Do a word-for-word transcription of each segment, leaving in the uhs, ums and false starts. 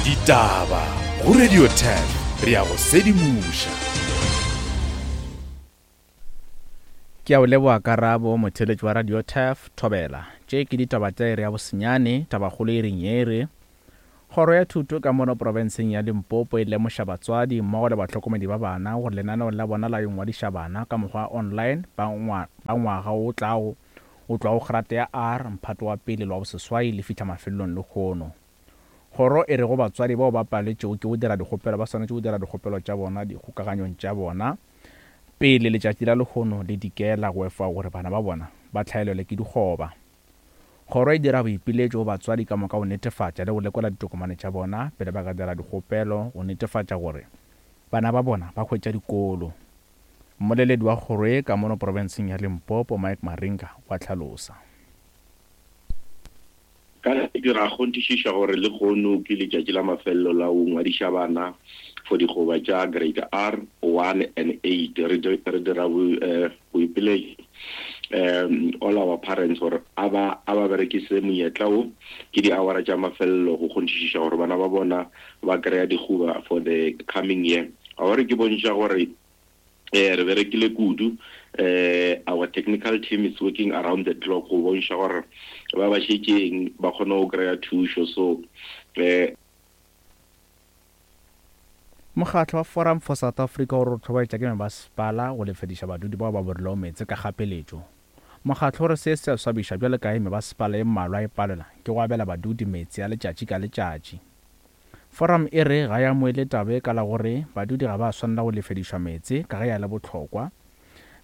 Ditaba go Radio Turf, re ya go sedimoša. Ke a o leboga Karabo, motheeletši wa Radio Turf, Thobela. Tše ke ditaba tša iri ya bosenyane, tabakgolo e reng ye re. Kgoro ya Thuto ka mono profenseng ya Limpopo e lemoša batswadi mmogo le bahlokomedi ba bana gore lenaneo la bona la yo ngwadiša bana ka mokgwa wa online ba ngwaga o tlago o tloga go grata ya R mphato wa pele le wa boseswai le fihla mafelelong lehono. Kgoro e re go batswadi bao ba paletšego ke go dira dikgopelo ba swanetše go dira dikgopelo tša bona dikgokaganyong tša bona pele letšatši la lehono le dikela go efoga gore bana ba bona ba hlaelelwe ke dikgoba. Kgoro e dira boipiletšo go batswadi ka moka go netefatša le go lekola ditokomane tša bona pele ba ka dira dikgopelo go netefatša gore bana ba bona ba hwetša dikolo. Mmoleledi wa kgoro ye ka mono profenseng ya Limpopo, Mike Maringa, o a hlalosa. Ka dira kgonthišiša gore lehono ke letšatši la mafelelo la go ngwadiša bana for dikgoba tša grade R one and eight. Re dira boipiletšo um all our parents gore a ba a ba berekise monyetla o ke di-hour tša mafelelo go kgonthišiša gore bana ba bona ba kry-a dikgoba for the coming year. A gore ke bontšha gore eh re berekile kudu, eh our technical team is working around the clock go bontšha gore ba ba šetšeng ba kgone go kry-a thušo. So eh Mokgatlo wa Forum for South Africa o re o hlobaetša ke mebasepala go lefediša badudi bao ba borilego meetse ka kgapeletšo. Mokgatlo o re se se a swabiša bjalo ka ge mebasepala e mmalwa e palelwa ke go abela badudi meetse a letšatši ka letšatši. Forum e re ga ya amoele taba e ka la gore badudi ga ba swanela go lefedišwa meetse ka ge ya le bohlokwa,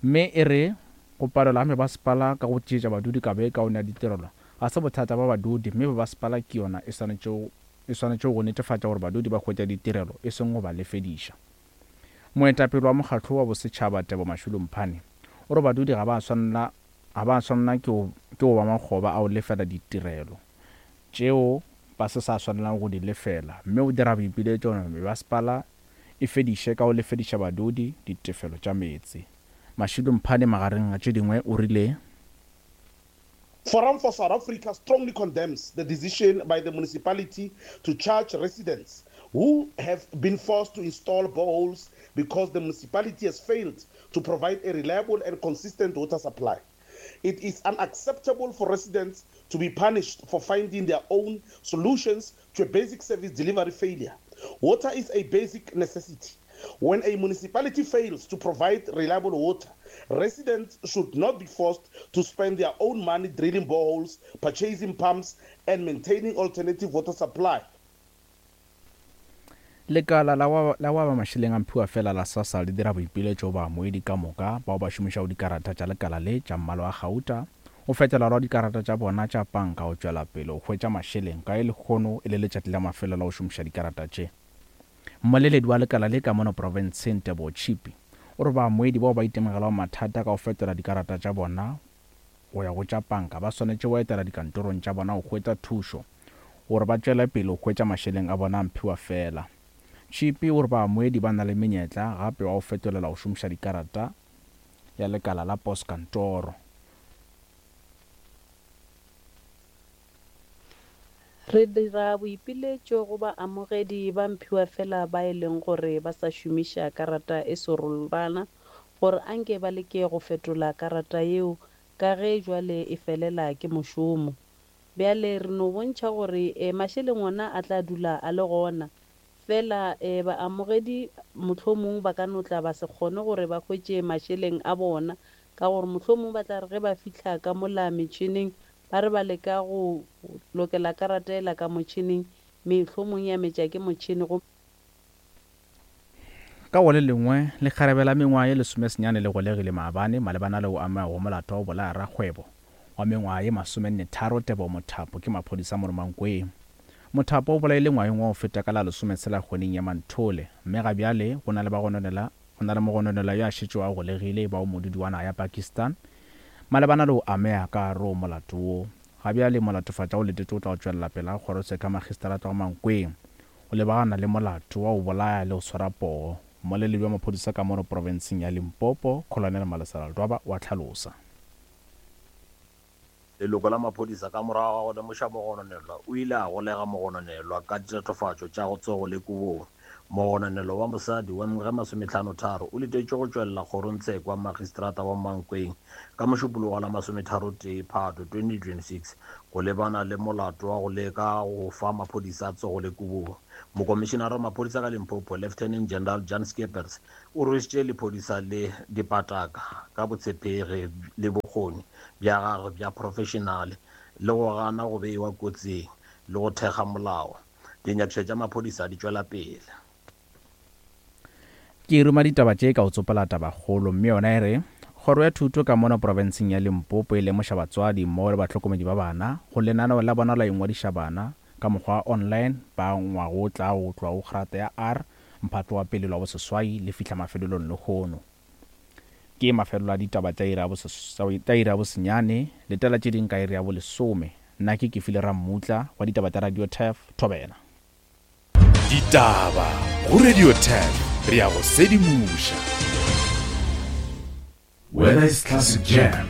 mme e re go palelwa ga mebasepala ka go tšeetša badudi kabo e kaone ya ditirelo ga se bothata ba badudi, mme mebasepala ke yona e swanetšego e swanetše go netefatša gore badudi ba hwetša ditirelo e seng go ba lefediša. Moetapele wa mokgatlo wa bosetšhaba Tebo Mashilo Mphane o re badudi ga ba swanela ga ba swanela ke go ba makgoba a go lefela ditirelo tšeo ba se sa swanelang go di lefela, mme o dira boipiletšo gore mebasepala e fediše ka go lefediša badudi ditefelo tša meetse. Mashilo Mphane magareng a tše dingwe o rile Forum for South Africa strongly condemns the decision by the municipality to charge residents who have been forced to install boreholes because the municipality has failed to provide a reliable and consistent water supply. It is unacceptable for residents to be punished for finding their own solutions to a basic service delivery failure. Water is a basic necessity. When a municipality fails to provide reliable water, residents should not be forced to spend their own money drilling boreholes, purchasing pumps, and maintaining alternative water supply. Lekala la wa ba mašeleng a mphiwa fela la SASSA le dira boipiletšo ba moedi ka moka bao ba šomišago dikarata tša lekala le tša mmala wa gauta go fetola lwa dikarata tša bona tša panka go tšwela pele go hwetša mašeleng ka e lehono e le letšatši la mafelelo la go šomiša dikarata tše. Mmoleledi wa lekala le ka mono profenseng Tebo Chipi o re bamoedi bao ba itemogelago mathata ka go fetola dikarata tša bona go ya go tša panka ba swanetše go etela dikantorong tša bona go hwetša thušo gore ba tšwele pele go hwetša mašeleng a bona a mphiwa fela. Chipi o re bamoedi ba na le menyetla gape wa go fetolela go šomiša dikarata ya lekala la postkantoro. Re dira boipiletšo go baamogedi ba mphiwa fela ba e leng gore ba sa šomiša karata e serolwana gore anke ba leke go fetola karata yeo ka ge jwale e felela ke mošomo. Bjale re no bontšha gore e, mašeleng ona a tla dula a le gona fela e, baamogedi mohlomong ba ka no tla ba se kgone gore ba hwetše mašeleng a bona ka gore mohlomong ba tla re ge ba fihla ka mola metšhineng ba re ba leka go lokela karata ela ka motšhineng mehlomong ya metša ke motšhini go. Ka go le lengwe lekgarebe la mengwaga ye lesomesenyane le golegile maabane malebana le go amega go molato wa go bolaya rakgwebo wa mengwaga ye masomenne tharo Tebo Mothapo ke maphodisa mo Mankweng. Mothapo o bolaile ngwageng wa go feta ka la lesometshela kgweding ya Manthole, mme ga bjale go na le bagononela go na le mogononela yo a šetšego a golegile ba o modudi wa naga ya Pakistan malebana le go amega ka gare go molato wo. Ga bjale molatofatša o letetše o tla go tšwelela pele ga kgorotsheko ya magistrata wa Mankweng o lebagana le molato wa go bolaya le go swara poo. Mmoleledi wa maphodisa ka mono profenseng ya Limpopo, Colonel Malesela Ledwaba, wa hlalosa. Leloko la maphodisa ka morago ga go lemoša mogononelwa o ile a golega mogononelwa ka ditatofatšo tša go tsogo le kobong. Mogononelwa wa mosadi wa mengwaga e masometlhano-tharo o letetšwe go tšwelela kgorongtsheko ya Magistrata wa Mankweng ka Mošupologo wa la masometharotee Phato twenty twenty-six go lebana le molato wa go leka go fa maphodisa tsogo le kobong. Mokomišenara wa maphodisa ka Limpopo, Lieutenant General Jan Skeepers, o rwešitše lephodisa le dipataka ka botshepegi le bokgoni bja gagwe bja professionale le go gana go beiwa kotsing le go thekga molao. Dinyakišišo tša maphodisa di tšwela pele. Ke ruma ditaba tše ka go tsopola tabakgolo, mme yona e re kgoro ya thuto ka mono profenseng ya Limpopo e lemoša batswadi mmogo le bahlokomedi ba bana go lenaneo la bona la ingwadiša bana ka mokgwa wa online ba ngwago o tla go tloga go kgrata ya R mphato wa pele lwa boseswai le fihla mafelelong lehono. Ke mafelelo a ditaba tša iri ya bosenyane, letela tše ding ka iri ya bolesome. Nna ke Kefile Rammutla wa ditaba tša Radio Turf Thobela. Ditaba go Radio Turf, re ya go sedimoša. Whether it's classic jam,